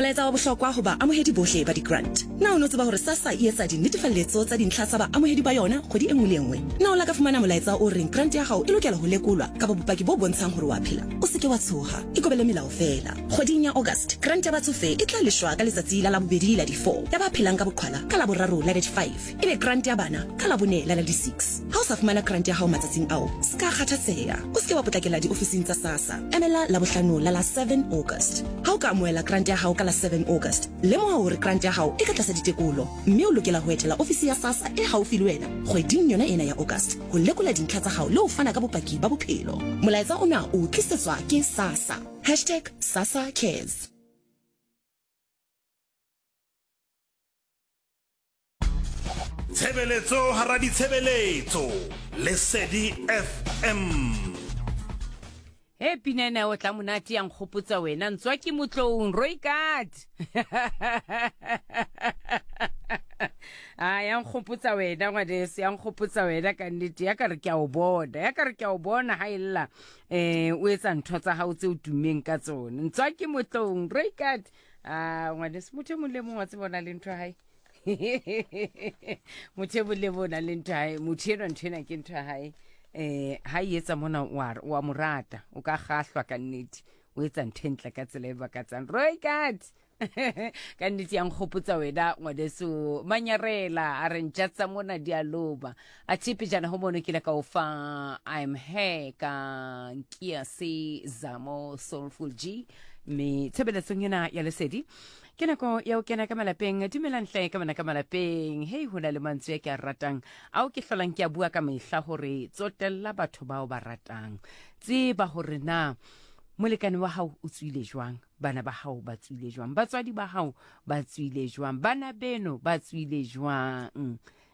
Molaetsa wa bohlokwa ho baamohedi bohle ba di-grant. Na o ne o tseba hore SASSA e etsa dinetefalletso tsa dintlha tsa baamohedi ba yona kgwedi e nngwe le e nngwe? Na o la ka fumana molaetsa o reng grant ya hao e lokela ho lekolwa kapa bopaki bo bontshang hore o a phela? O se ke wa tshoha, ikobele melao feela. Kgweding ya August, grant ya batsofe e tla leshwa ka letsatsi la Labobedi la di-4, ya ba phelang ka boqhwala ka Laboraro la di-5, ebe grant ya bana ka Labone la la di-6. Ha o sa fumana grant ya hao matsatsing ao, se ka kgathatseha. O se ke wa potlakela diofising tsa SASSA. Emela Labohlano la la 7 August. Ha o ka amohela grant ya hao ka la 7 August, lemoha hore grant ya hao e ka tlasa ditekolo mme o lokela ho etela ofisi ya SASSA e haufi le wena kgweding yona ena ya August ho lekola dintlha tsa hao le ho fana ka bopaki ba bophelo. Molaetsa ona o tlisetswa ke SASSA. Hashtag SASSA Cares. Tshebeletso hara ditshebeletso. Lesedi FM. He pina ena o tla monate ya nkgopotsa wena ntswa ke motloung roikat a ya nkgopotsa wena ngwaneso ya nkgopotsa wena ka nnete ya ka re ke a o bona ya ka re ke a o bona ha e lla um o etsa ntho tsa gago tse o tummeng ka tsone ntswa ke motloung roikat a ngwaneso motho e mong le mong wa tseba o na le ntho ya hae motho e mong le mong o na le ntho ya hae motho enwa ntho ena ke ntho ya hae um ha e etsa mona wa mo rata o ka gahlwa ka nnete o etsa ntho e ntle ka tsela e bakatsang roikat ka nnete ya nkgopotsa wena ngwaneso manyarela a re ntša tsa mona di a loba a tshepe jana ho mono ke ile ka o fa I'm here ka nkia se zamo soulful g mme tshebeletsong ena ya lesedi ke nako ya ho kena ka malapeng dumelang hle ka bana ka malapeng hei ho na le mantswe a ke a ratang ao ke hlolang ke a bua ka mehla hore tsotella batho bao ba ratang tseba hore na molekane wa hao o tswile jwang bana ba hao ba tswile jwang batswadi ba hao ba tswile jwang bana beno ba tswile jwang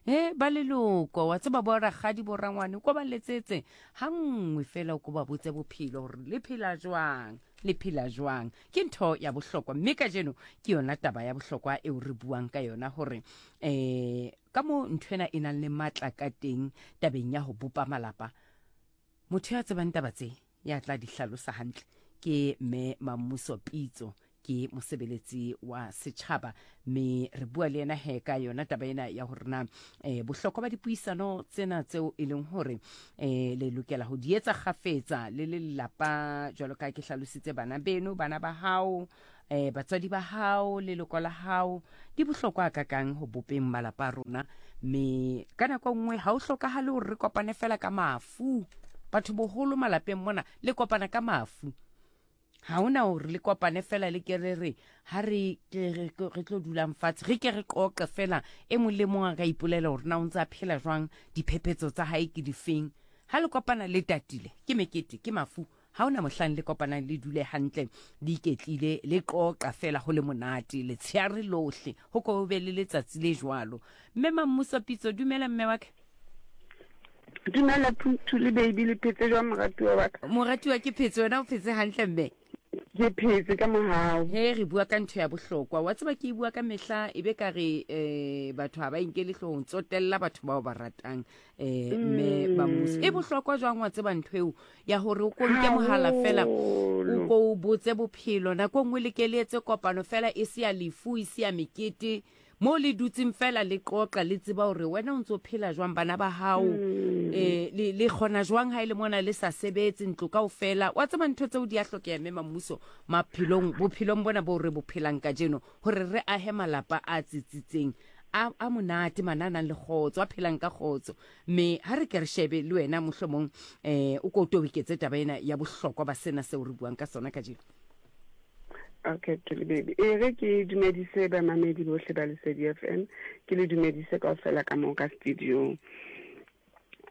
e ba leloko wa tseba bo rakgadi bo rangwane ko ba letsetse ha nngwe fela o ko ba botse bophelo hore le phela jwang le phela jwang ke ntho ya bohlokwa mme kajeno ke yona taba ya bohlokwa eo re buang ka yona hore eh ka mo ntho ena e nang le matla ka teng tabeng ya ho bopa malapa motho ya tsebang taba tse ya tla di hlalosa hantle ke mme Mammuso Pitso ke mosebeletsi wa setjhaba mme re bua le yena he ka yona taba ena ya hore na eh, bohlokwa ba dipuisano tsena tseo e leng hore eh, le lokela ho di etsa kgafetsa le le lelapa jwalo ka ke hlalositse bana beno bana ba hao eh, batswadi ba hao leloko la hao di bohlokwa kakang ho bopeng malapa a rona mme ka nako nngwe ha o hlokahale hore re kopane fela ka mafu batho boholo malapeng mona le kopana ka mafu ga ona gore le kopane fela le ke re re ga re re tlo dulang fatshe re ke re qoqe fela e mong le mong a ka ipolela gore na o ntse a phela jwang diphephetso tsa gae ke difeng ga le kopana le tatile ke mekete ke mafu ga ona mohlang le kopanang le dule hantle le iketlile le qoqa fela go le monate letsheare lohle go ko be le letsatsi le jwalo mme mammuso pitso dumela mme wa ka Dumela Thuli baby le phetse jwang moratuwa wa ka? Moratuwa ke phetse wena o phetse hantle mme? Ke phetse ka mohau. He re bua ka ntho ya bohlokwa. Wa tseba ke e bua ka mehla e be ka re eh batho ha ba inkele hloohong tsotella batho bao ba ratang eh mme ba mmuso. E bohlokwa jwang wa tseba ntho eo ya hore o ko nke mohala fela o ko o botse bophelo nako e nngwe le ke le etse kopano fela e se ya lefu e se ya mekete mo le dutseng fela le qoqa le tseba hore wena o ntse o phela jwang bana ba hao mm. eh, le, le kgona jwang ha e le mona le sa sebetse ntlo ka ofela wa tseba ntho tseo di a hlokeha mme mammuso maphelong bophelong bona bo re bophelang kajeno hore re ahe malapa a tsitsitseng a, a monate mana a nang le kgotso a phelang ka kgotso mme ha re ke re shebe le wena mohlomong um o ko o toboketse taba ena ya bohlokwa ba sena seo re buang ka sona kajeno Okay, Tuli baby. E re ke dumedise bamamedi bohle ba Lesedi FM. Ke le dumedise kaofela ka moo ka studio.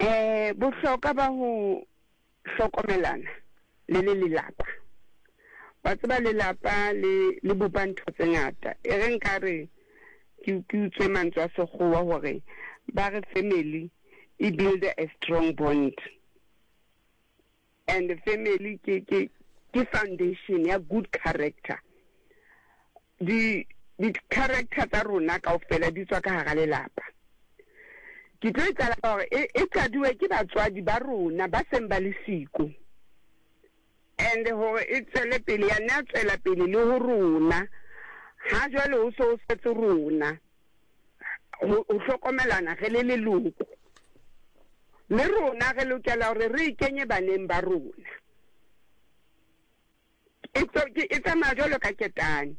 Eh bohlokwa ba ho hlokomelana le le lelapa. Wa tseba lelapa le le bopa ntho tse ngata. E re nka re ke ke utswe mantswe a sekgowa hore ba re family e build a strong bond. And family ke ke ke foundation ya good character. Di di character tsa rona kaofela di tswa ka hara lelapa. Ke tlo e qala ka hore e, e qaduwe ke batswadi ba rona ba seng ba le siko. And hore e tswele pele ya nna tswela pele le ho rona. Ha jwale ho se ho setse rona ho hlokomelana re le leloko. Le rona re lokela hore re e kenye baneng ba rona. E e tsamaya jwalo ka ketane.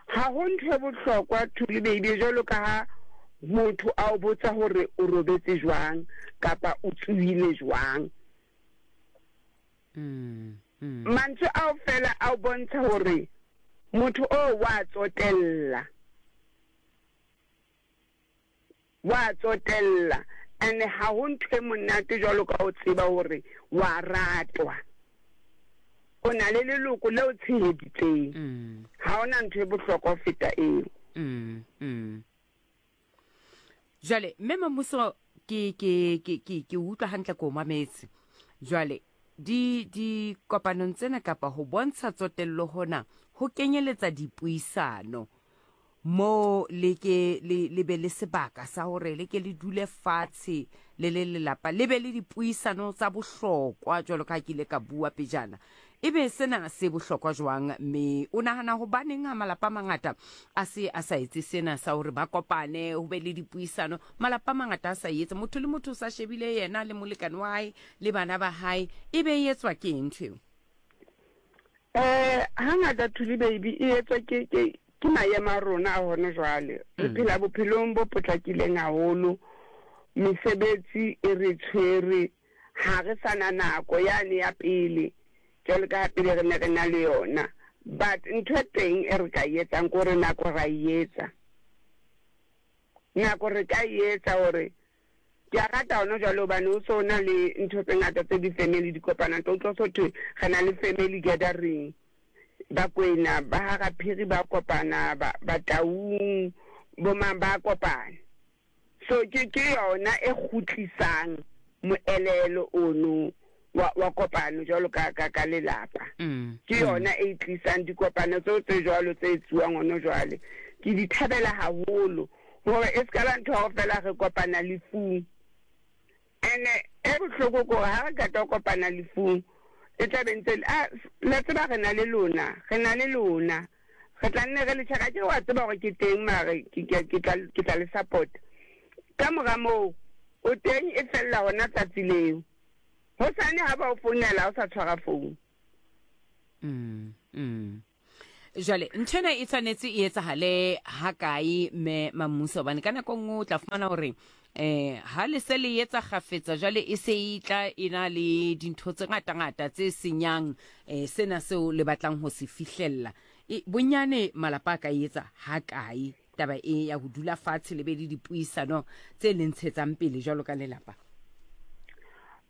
Ha ho ntho e bohlokwa Thuli baby jwalo ka ha motho a o botsa hore o robetse jwang kapa o tsohile jwang. Mantswe ao fela a o bontsha hore motho oo wa tsotella. Wa tsotella and ha ho ntho e monate jwalo ka ho tseba hore wa ratwa. O na le leloko le o tsheheditseng. Ha hona ntho e bohlokwa ho feta eo. Jwale mme Mamuso ke ke ke ke ke utlwa hantle ko mametse. Jwale di di kopanong tsena kapa ho bontsha tsotello hona ho kenyeletsa dipuisano mo le ke le le be le sebaka sa hore le ke le dule fatshe le le lelapa le be le dipuisano tsa bohlokwa jwalo ka ha ke ile ka bua pejana. Ebe sena se bohlokwa jwang? Mme o nahana hobaneng ha malapa a mangata a se a sa etse sena sa hore ba kopane, ho be le dipuisano? Malapa a mangata a sa etse. Motho le motho o sa shebile yena le molekane wa hae le bana ba hae. Ebe e etswa ke eng ntho eo? Eh, hangata Thuli baby e etswa ke ke ke maemo a rona a hona jwale. Re phela bophelong bo potlakileng haholo. Mesebetsi e re tshwere. Ha re sa na nako yane ya pele jwalo ka ha pele re ne re na le yona. But ntho e teng e re ka e etsang ke hore nako ra e etsa. Nako re ka e etsa hore ke a rata hona jwale hobane ho so na le ntho tse ngata tse di-family di kopanang. Tlo utlwa so thwe re na le family gathering. Bakwena ba ha Raphiri ba kopana, Bataung, bo mang ba kopana. So ke ke yona e kgutlisang moelelo ono wa wa kopano jwalo ka ka ka lelapa. Ke yona e tlisang dikopano tseo tse jwalo tse etsuwang ono jwale. Ke di thabela haholo hore e ska ba ntho ya hore fela re kopana lefung. Ene e bohloko ke hore ha re qeta ho kopana lefung, e tla be ntse a la tseba re na le lona, re na le lona. Re tla nne re le check-a. Akere wa tseba hore ke teng mare ke, ke, ke tla, ke tla le support. Ka mora moo, o teng e fella hona tsatsi leo. Hosane ha ba o founela ha o sa tshwara phone. Mm, mm. Jwale ntho ena e tshwanetse e etsahale ha kae mme Mammuso? Hobane ka nako nngwe o tla fumana hore eh ha le se le etsa kgafetsa jwale e se e tla e na le dintho tse ngata-ngata tse senyang eh sena seo le batlang ho se fihlella. E, bonyane malapa a ka e etsa ha kae taba e ya ho dula fatshe le be le dipuisano tse le ntshetsang pele jwalo ka lelapa?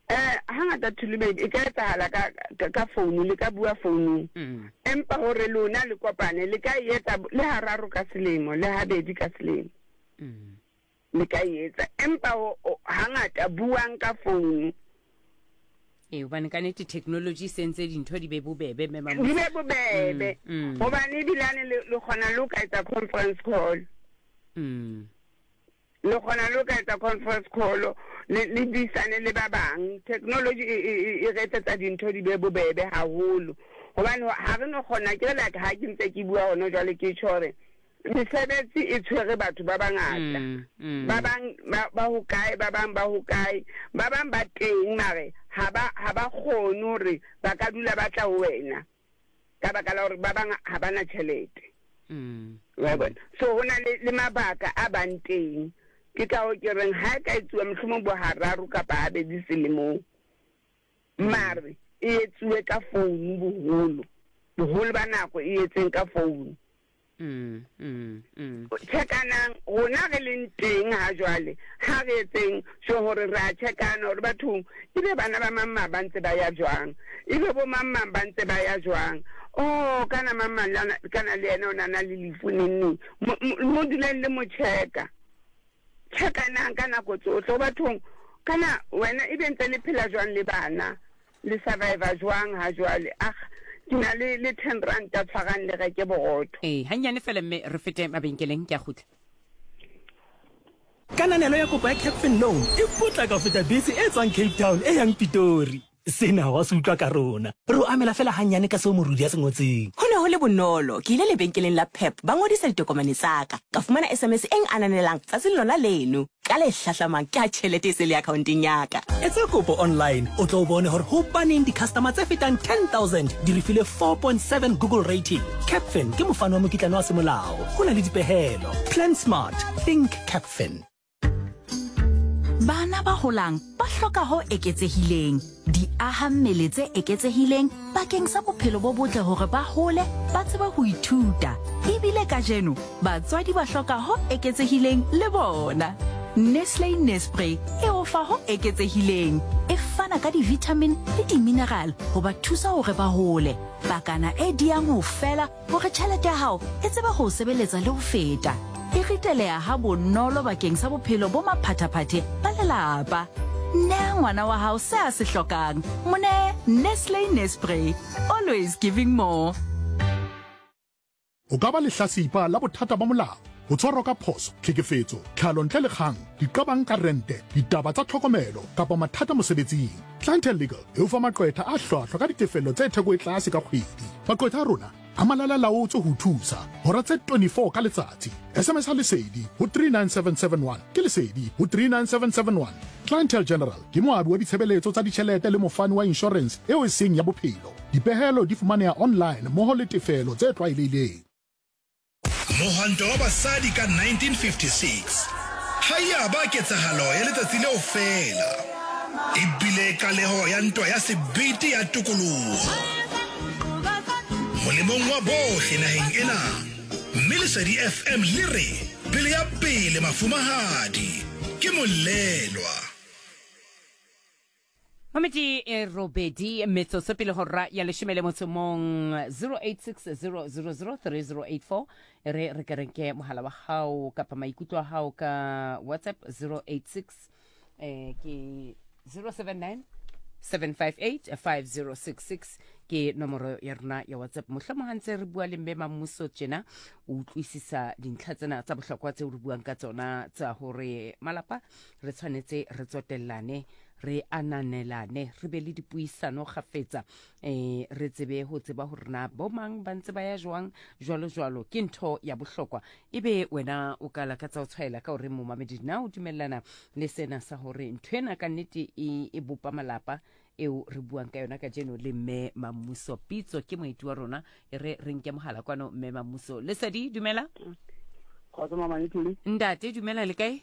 Eh, hangata Thulubedi e ka etsahala ka, ka, ka founu, le ka bua founung. Empa hore lona le kopane, le ka e etsa le hararo ka selemo, le habedi ka selemo. Le ka e etsa. Empa ho, ho, hangata buang ka founu. Ee, hobane ka nete technology e sentse dintho di be bobebe, mme Mamusa. Di be bobebe. Hobane ebilane le, le kgona le ho ka etsa conference call. Le kgona le ho ka etsa conference call, le, le buisane le ba bang. Technology e, e, e, e re etsetsa dintho di be bobebe haholo. Hobane ha re no kgona, ke re like ha ke ntse ke bua hona jwale ke tjho hore mesebetsi e tshwere batho ba bangata. Ba bang ba, ba hokae, ba bang ba hokae, ba bang ba teng mare ha ba, ha ba kgone hore ba ka dula ba tla ho wena ka baka la hore ba bang ha ba na tjhelete. Wa bona? So ho na le, le mabaka a bang teng. Ke ka hoo ke reng ha e ka etsuwa mohlomong bo hararo kapa habedi selemong. Mare e etsuwe ka founu boholo. Boholo ba nako e etseng ka founu. Chekanang, rona re leng teng ha jwale, ha re etseng sure hore re a chekana hore bathong ebe bana ba mang mang ba ntse ba ya jwang, ebe bo mang mang ba ntse ba ya jwang. Oh, kana mang mang lana, kana le yena o na na le lefu neng neng. Mo, mo, mo duleng le mo cheka. Chekanang ka nako tsohle ho bathong, kana wena ebe ntse le phela jwang le bana. Le survivor jwang ha jwale? Ag, ke na le, le ten ranta, tshwarang le reke borotho. Ee, hannyane fela mme re fete mabenkeleng, ke a kgutla. Kananelo ya kopo ya Capfin Loan e potlaka ho feta bese e tswang Cape Town e yang Pitori. Sena wa se utlwa ka rona. Re o amela feela hannyane ka seo morudi a se ngotseng. Ho ne ho ne ho le bonolo. Ke ile lebenkeleng la Pep ba ngodisa ditokomane tsa ka. Ka fumana SMS e ngananelang tsatsing lona leno. Ka le hlahlamang ke ha tjhelete e se le akhaonteng ya ka. Etsa kopo online o tlo bone hore hobaneng di-customer tse fetang 10,000 di re file 4.7 Google rating. Capfin ke mofani wa mokitlane wa semolao. Ho na le dipehelo. Plan smart. Think Capfin. Bana ba holang ba hloka ho eketsehileng, diahammele tse eketsehileng bakeng sa bophelo bo botle hore ba hole ba tsebe ho ithuta. Ebile kajeno batswadi ba hloka ho eketsehileng le bona. Nestle Nespre e o fa ho eketsehileng, e fana ka di-vitamin le di-mineral ho ba thusa hore ba hole. Pakana e diyang ho fela Hore tjhelete ya hao e tsebe ho o sebeletsa le ho feta, e riteleha ha bonolo bakeng sa bophelo bo maphathaphathe ba lelapa. Nea ngwana wa hao se a se hlokang. Mo nee Nestle Nespre. Always giving more. O ka ba lehlasipa la bothata ba molao, ho tshwarwa ka phoso, tlhekefetso, tlhalo ntle le kgang, diqabang ka rente, ditaba tsa tlhokomelo kapa mathata mosebetsing. Clientele Legal e o fa maqwetha a hlwahlwa ka ditefello tse theko e tlase ka kgwedi. Maqwetha a rona a malalalaotswe ho o thusa hora tse 24 ka letsatsi. SMS a Lesedi ho 39771 ke Lesedi ho 39771. Clientele General ke moabi wa ditshebeletso tsa ditjhelete le mofani wa inshorense eo e seng ya bophelo. Dipehelo di fumaneha online mmoho le tefelo tse tlwaelehileng. Mohwanto wa basadi ka 1956 ga ya ba ketsahalo ya letsatsi leo feela, e bile qaleho ya ntwa ya sebete ya tokoloho molemong wa bohle naheng ena, mme Lesedi FM le re pele ya pele mafumahadi ke molelwa. Mamedi e robedi metsotso pele hora ya leshome le motso mong 0860003084 e re re ke renke mohala wa hao kapa maikutlo a hao ka WhatsApp 086 eh ke 079 758 5066 ke nomoro ya rona ya WhatsApp. Mohlomong ha ntse re bua le mme Mammuso tjena o utlwisisa dintlha tsena tsa bohlokwa tseo re buang ka tsona tsa hore malapa re tshwanetse re tsotellane re ananelane re be le dipuisano kgafetsa um re tsebe ho tseba hore na bomang ba ntse ba ya jwang jwalo jwalo ke ntho ya bohlokwa ebe wena o ka lakatsa ho tshwaela ka hore momamedi na o dumellana le sena sa hore ntho ena ka nnete e, e bopa malapa eo re buang ka yona kajeno le mme Mammuso Pitso ke moeti wa rona e re re nke mohala kwano mme Mammuso Lesedi dumela Kgotso mama Ithuli. Ntate dumela le kae?